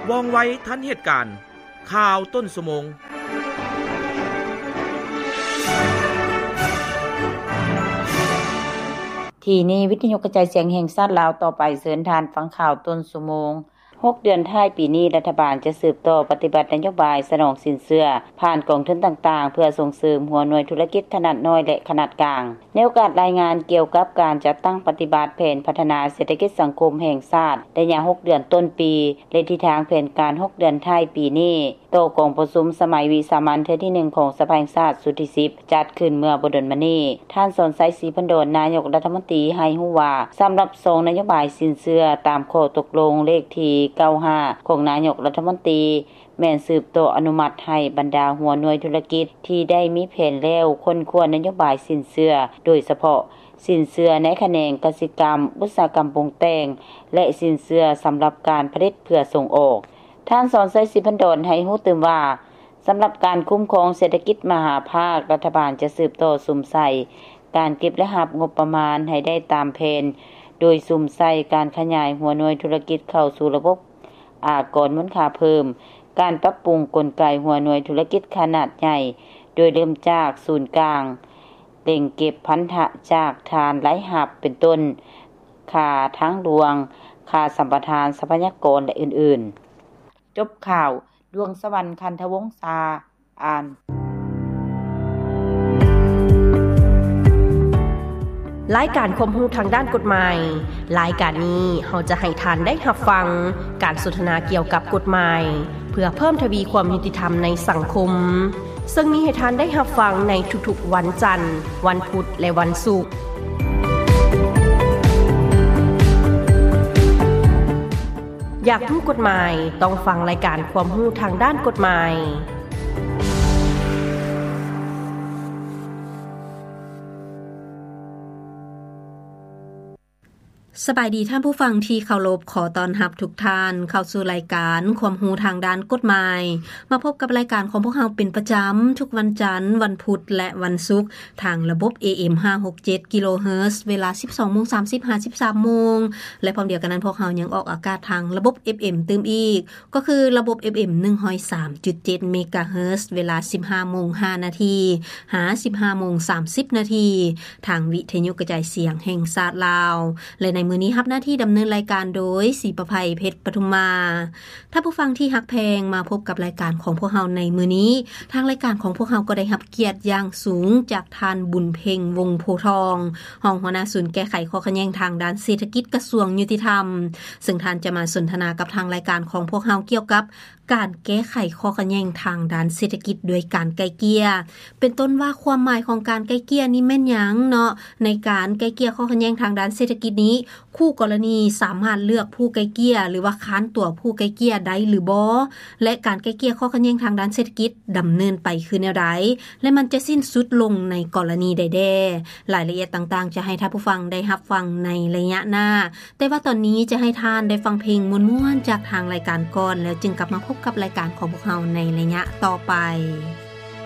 ວ່ອງໄວທັນເຫດການ. ຂ່າວຕົ້ນຊົ່ວໂມງ. ທີ່ນີ້ວິທະຍຸກະຈາຍສຽງແຫ່ງຊາດລາວ. ຕໍ່ໄປເຊີນທ່ານຟັງຂ່າວຕົ້ນຊົ່ວໂມງ. ຫົກເດືອນທ້າຍປີນີ້, ລັດຖະບານຈະສືບຕໍ່ປະຕິບັດນະໂຍບາຍສະໜອງສິນເຊື່ອຜ່ານກອງທຶນຕ່າງໆ ເພື່ອສົ່ງເສີມຫົວໜ່ວຍທຸລະກິດຂະໜາດນ້ອຍ ແລະ ຂະໜາດກາງ. ໃນໂອກາດລາຍງານກ່ຽວກັບການຈັດຕັ້ງປະຕິບັດແຜນພັດທະນາເສດຖະກິດສັງຄົມແຫ່ງຊາດ ໄລຍະຫົກເດືອນຕົ້ນປີ ແລະ ທິດທາງແຜນການຫົກເດືອນທ້າຍປີນີ້ ຕໍ່ກອງປະຊຸມສະໄໝວິສາມັນເທື່ອທີໜຶ່ງຂອງສະພາແຫ່ງຊາດຊຸດທີສິບ ຈັດຂຶ້ນເມື່ອບໍ່ດົນມານີ້, ທ່ານ ສອນໄຊ ສີພັນດອນ ນາຍົກລັດຖະມົນຕີ ໃຫ້ຮູ້ວ່າ ສຳລັບຊອງນະໂຍບາຍສິນເຊື່ອຕາມຂໍ້ຕົກລົງເລກທີເກົ້າຫ້າ ຂອງນາຍົກລັດຖະມົນຕີ ແມ່ນສືບຕໍ່ອະນຸມັດໃຫ້ບັນດາຫົວໜ່ວຍທຸລະກິດທີ່ໄດ້ມີແຜນແລ້ວຄົ້ນຄວ້ານະໂຍບາຍສິນເຊື່ອ, ໂດຍສະເພາະສິນເຊື່ອໃນຂະແໜງກະສິກຳ, ອຸດສາຫະກຳປຸງແຕ່ງ ແລະ ສິນເຊື່ອສຳລັບການຜະລິດເພື່ອສົ່ງອອກ. ທ່ານ ສອນໄຊ ສີພັນດອນ ໃຫ້ຮູ້ຕື່ມວ່າ ສຳລັບການຄຸ້ມຄອງເສດຖະກິດມະຫາພາກ, ລັດຖະບານຈະສືບຕໍ່ສຸມໃສ່ການເກັບ ແລະ ຮັບງົບປະມານໃຫ້ໄດ້ຕາມແຜນ, ໂດຍສຸມໃສ່ການຂະຫຍາຍຫົວໜ່ວຍທຸລະກິດເຂົ້າສູ່ລະບົບ ອາກອນມູນຄ່າເພີ່ມ, ການປັບປຸງກົນໄກຫົວໜ່ວຍທຸລະກິດຂະໜາດໃຫຍ່, ໂດຍເລີ່ມຈາກສູນກາງ, ເລັ່ງເກັບພັນທະຈາກຖານລາຍຮັບ ເປັນຕົ້ນ ຄ່າທາງຫຼວງ, ຄ່າສຳປະທານຊັບພະຍາກອນ ແລະ ອື່ນໆ. ຈົບຂ່າວ, ດວງສະຫວັນ ຄັນທະວົງສາ ອ່ານ. ລາຍການຄວາມຮູ້ທາງດ້ານກົດໝາຍ. ລາຍການນີ້ເຮົາຈະໃຫ້ທ່ານໄດ້ຮັບຟັງການສົນທະນາກ່ຽວກັບກົດໝາຍ ເພື່ອເພີ່ມທະວີຄວາມຍຸຕິທຳໃນສັງຄົມ, ເຊິ່ງມີໃຫ້ທ່ານໄດ້ຮັບຟັງໃນທຸກໆວັນຈັນ, ວັນພຸດ ແລະ ວັນສຸກ. ຢາກຮູ້ກົດໝາຍ? ຕ້ອງຟັງລາຍການຄວາມຮູ້ທາງດ້ານກົດໝາຍ. ສະບາຍດີທ່ານຜູ້ຟັງທີ່ເຄົາລົບ, ຂໍຕ້ອນຮັບທຸກທ່ານເຂົ້າສູ່ລາຍການຄວາມຮູ້ທາງດ້ານກົດໝາຍ. ມາພົບກັບລາຍການຂອງພວກເຮົາເປັນປະຈຳທຸກວັນຈັນ, ວັນພຸດ ແລະ ວັນສຸກ ທາງລະບົບ ເອເອັມ ຫ້າຫົກເຈັດ ກິໂລເຮີດ ເວລາ ສິບສອງໂມງສາມສິບ ຫາ ສິບສາມໂມງ ແລະ ພ້ອມດຽວກັນນັ້ນ ພວກເຮົາຍັງອອກອາກາດທາງລະບົບ ເອັຟເອັມ ຕື່ມອີກ ກໍຄືລະບົບ ເອັຟເອັມ ໜຶ່ງຮ້ອຍສາມຈຸດເຈັດ ເມກາເຮີດ ເວລາ ສິບຫ້າໂມງຫ້ານາທີ ຫາ ສິບຫ້າໂມງສາມສິບນາທີ ທາງວິທະຍຸກະຈາຍສຽງແຫ່ງຊາດລາວ ແລະ ໃນມື້ນີ້ຮັບໜ້າທີ່ດຳເນີນລາຍການໂດຍ ສີປະໄພ ເພັດປະທຸມມາ. ທ່ານຜູ້ຟັງທີ່ຮັກແພງ, ມາພົບກັບລາຍການຂອງພວກເຮົາໃນມື້ນີ້. ທາງລາຍການຂອງພວກເຮົາກໍໄດ້ຮັບກຽດຢ່າງສູງຈາກທ່ານ ບຸນເພັງ ວົງໂພທອງ, ຮອງຫົວໜ້າສູນແກ້ໄຂຂໍ້ຂັດແຍ່ງທາງດ້ານເສດຖະກິດ ກະຊວງຍຸຕິທຳ, ເຊິ່ງທ່ານຈະມາສົນທະນາກັບທາງລາຍການຂອງພວກເຮົາກ່ຽວກັບ ການແກ້ໄຂຂໍ້ຂັດແຍ່ງທາງດ້ານເສດຖະກິດດ້ວຍການໄກ່ເກ່ຍ ເປັນຕົ້ນວ່າຄວາມໝາຍຂອງການໄກ່ເກ່ຍນີ້ແມ່ນຫຍັງເນາະ? ໃນການໄກ່ເກ່ຍຂໍ້ຂັດແຍ່ງທາງດ້ານເສດຖະກິດນີ້ ຄູ່ກໍລະນີສາມາດເລືອກຜູ້ໄກ່ເກ່ຍ ຫຼືວ່າຄ້ານຕົວຜູ້ໄກ່ເກ່ຍໄດ້ຫຼືບໍ່? ແລະ ການໄກ່ເກ່ຍຂໍ້ຂັດແຍ່ງທາງດ້ານເສດຖະກິດດຳເນີນໄປຄືແນວໃດ? ແລະ ມັນຈະສິ້ນສຸດລົງໃນກໍລະນີໃດແດ່? ລາຍລະອຽດຕ່າງໆ ຈະໃຫ້ທ່ານຜູ້ຟັງໄດ້ຮັບຟັງໃນໄລຍະໜ້າ. ແຕ່ວ່າຕອນນີ້ຈະໃຫ້ທ່ານໄດ້ຟັງເພງມ່ວນໆຈາກທາງລາຍການກ່ອນ ແລ້ວຈຶ່ງກັບມາພົບກັບລາຍການຂອງພວກເຮົາໃນໄລຍະຕໍ່ໄປ.